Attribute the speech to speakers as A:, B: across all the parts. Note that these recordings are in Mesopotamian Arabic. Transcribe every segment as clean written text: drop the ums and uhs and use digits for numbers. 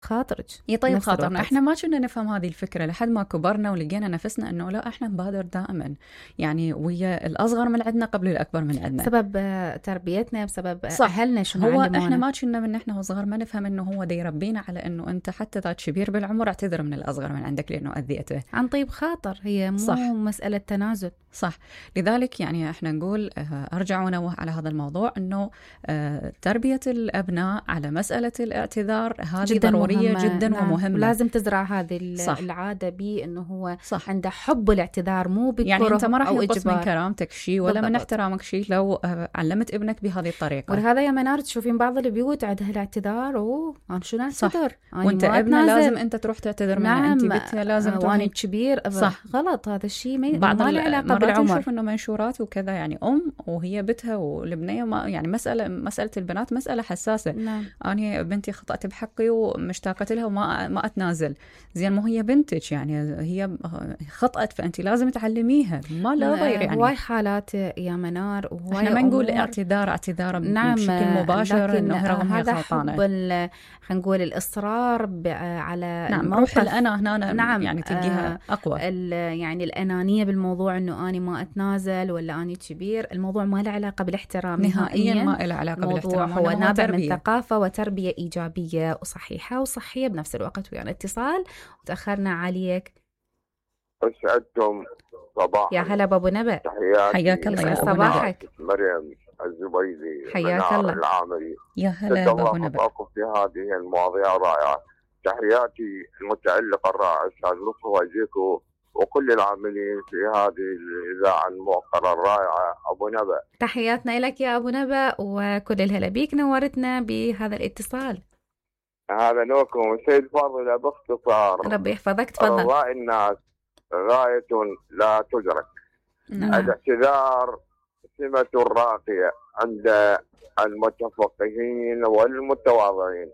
A: خاطرك
B: يطيب
A: نفس
B: خاطرنا.
A: الوقت.
B: احنا ما كنا نفهم هذه الفكرة لحد ما كبرنا ولقينا نفسنا انه لا، احنا نبادر دائما يعني ويا الاصغر من عندنا قبل الاكبر من عندنا،
A: بسبب تربيتنا، بسبب
B: صح.
A: اهلنا شنو
B: هو
A: علمونا.
B: احنا ما كنا من احنا وصغار ما نفهم انه هو دا يربينا على انه انت حتى ذا كبير بالعمر اعتذر من الاصغر من عندك لانه اذيته
A: عن طيب خاطر، هي مو
B: صح.
A: مسألة تنازل.
B: صح. لذلك يعني احنا نقول ارجع ونوه على هذا الموضوع انه تربية الابناء على مسألة الاعتذار هذه
A: جداً
B: ضرورية
A: مهمة.
B: جدا
A: نعم.
B: ومهمة.
A: ولازم تزرع هذه
B: صح.
A: العادة بي انه هو
B: صح.
A: عنده حب الاعتذار، مو بكره
B: يعني انت ما راح
A: او
B: ينقص من
A: اجبار.
B: كرامتك شيء ولا من
A: بالضبط.
B: احترامك شيء لو علمت ابنك بهذه الطريقة.
A: ولهذا يا منار تشوفين بعض البيوت عندها الاعتذار، انا شو نعتذر،
B: وانت ابنه لازم انت تروح تعتذر منه.
A: نعم.
B: انت بنتها لازم تروح.
A: وانا كبير.
B: صح.
A: غلط هذا الشيء،
B: بعض
A: ما له علاقة
B: مرات
A: بالعمر.
B: نشوف انه منشورات وكذا يعني وهي بنتها والبنيه ما يعني مسألة البنات مسألة حساسة.
A: نعم.
B: انا بنتي خطأت بحقي ومشتاقة لها وما اتنازل. زين مو هي بنتك يعني هي خطأت فانت لازم تعلميها، ما لا غير يعني.
A: هواي حالات يا منار،
B: احنا ما نقول اعتذار
A: نعم
B: بشكل مباشر انه رغم هي
A: هذا
B: غلطانة.
A: خلينا نقول الاصرار على
B: نعم روح الانا هنا.
A: نعم.
B: يعني تلقيها اقوى.
A: يعني الانانيه بالموضوع انه انا ما اتنازل ولا اني كبير. الموضوع ما له علاقه بالاحترام
B: نهائيا، ما له علاقه بالاحترام.
A: هو نابع من ثقافه وتربيه ايجابيه وصحيحه وصحيه بنفس الوقت. ويعني اتصال وتاخرنا عليك.
C: اسعدتم صباحا.
A: يا هلا بابو نبأ.
C: تحياتي.
B: حياك الله يا
A: صباحك.
C: مريم الزبيدي.
A: حياك الله.
C: العامري.
B: يا هلا بابو نبأ.
C: في هذه المواضيع الرائعه. تحياتي المتألق الرائع استاذ لطفي وزيكو وكل العاملين في هذه الإذاعة الموقرة الرائعة. أبو نبأ.
A: تحياتنا لك يا أبو نبأ وكل الهلا بيك، نورتنا بهذا الاتصال.
C: هذا نوكم سيد فاضل. باختصار
A: ربي يحفظك، تفضل.
C: رضاء الناس غاية لا تدرك. الاعتذار سمة راقية عند المتفقهين والمتواضعين،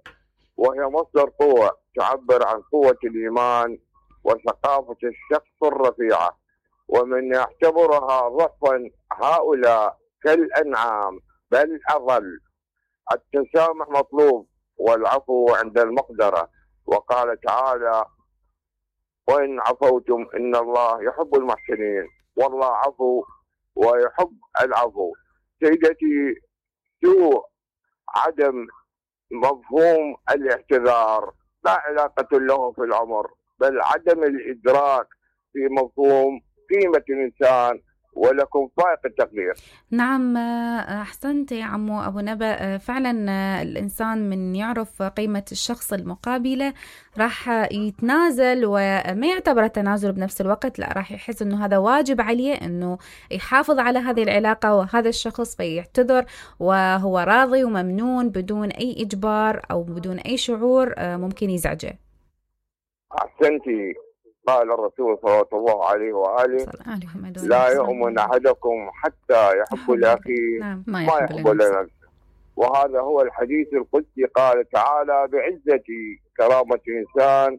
C: وهي مصدر قوة تعبر عن قوة الإيمان وثقافة الشخص الرفيعة. ومن يعتبرها ضعفا هؤلاء كالأنعام بل أضل. التسامح مطلوب والعفو عند المقدرة. وقال تعالى: وإن عفوتم إن الله يحب المحسنين. والله عفو ويحب العفو. سيدتي، سوء عدم مفهوم الاعتذار لا علاقة له في العمر، بل عدم الإدراك في مفهوم قيمة الإنسان ولكم فائق التقدير.
A: نعم أحسنت يا عمو أبو نبأ. فعلا الإنسان من يعرف قيمة الشخص المقابلة راح يتنازل وما يعتبر تنازل بنفس الوقت، لا راح يحس أنه هذا واجب عليه أنه يحافظ على هذه العلاقة وهذا الشخص، فيعتذر وهو راضي وممنون بدون أي إجبار أو بدون أي شعور ممكن يزعجه.
C: أحسنتي. قال الرسول صلى الله عليه وآله: لا يؤمن أحدكم حتى يحب لأخيه ما يحب لنفسه. وهذا هو الحديث القدسي. قال تعالى: بعزتي كرامة الإنسان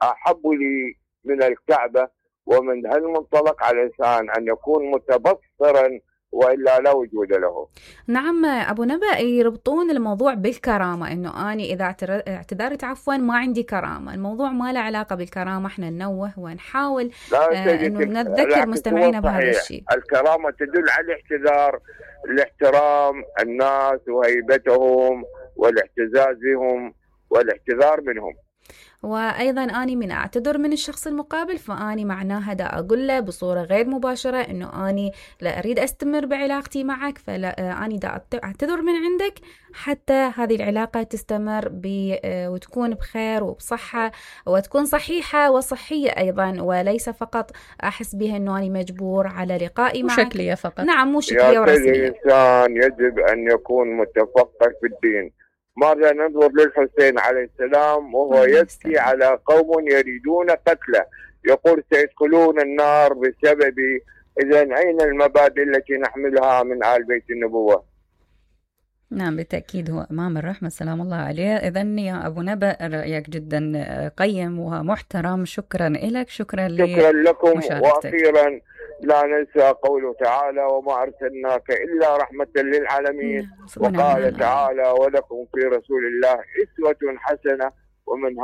C: أحب لي من الكعبة. ومن هالمنطلق على الإنسان أن يكون متبصرا وإلا لا وجود له.
A: نعم أبو نبأ، يربطون الموضوع بالكرامة، إنه أنا إذا اعتذرت عفوا ما عندي كرامة. الموضوع ما له علاقة بالكرامة. إحنا ننوه ونحاول إنه نذكر مستمعينا بهذا الشيء.
C: الكرامة تدل على الاعتذار، الاحترام الناس وهيبتهم والاعتزاز بهم والاعتذار منهم.
A: وأيضا أني من أعتذر من الشخص المقابل فأني معناها دا أقول له بصورة غير مباشرة إنه أني لا أريد أستمر بعلاقتي معك، فلا أني دا أعتذر من عندك حتى هذه العلاقة تستمر وتكون بخير وبصحة وتكون صحيحة وصحية أيضا، وليس فقط أحس بها إنه أني مجبور على لقائي معك.
B: شكلية فقط.
A: نعم مو شكلية ورسمية.
C: الإنسان يجب أن يكون متفقه في الدين. ماذا ننظر للحسين عليه السلام وهو يبكي على قوم يريدون قتله، يقول: سيدخلون النار بسببي. إذن أين المبادئ التي نحملها من آل بيت النبوة؟
B: نعم بالتأكيد هو أمام الرحمة سلام الله عليه. إذن يا أبو نبأ رأيك جدا قيم ومحترم. شكرا لك. شكرا
C: لكم. وأخيرا لا ننسى قوله تعالى: وما أرسلناك إلا رحمة للعالمين. وقال تعالى: ولكم في رسول الله أسوة حسنة. ومن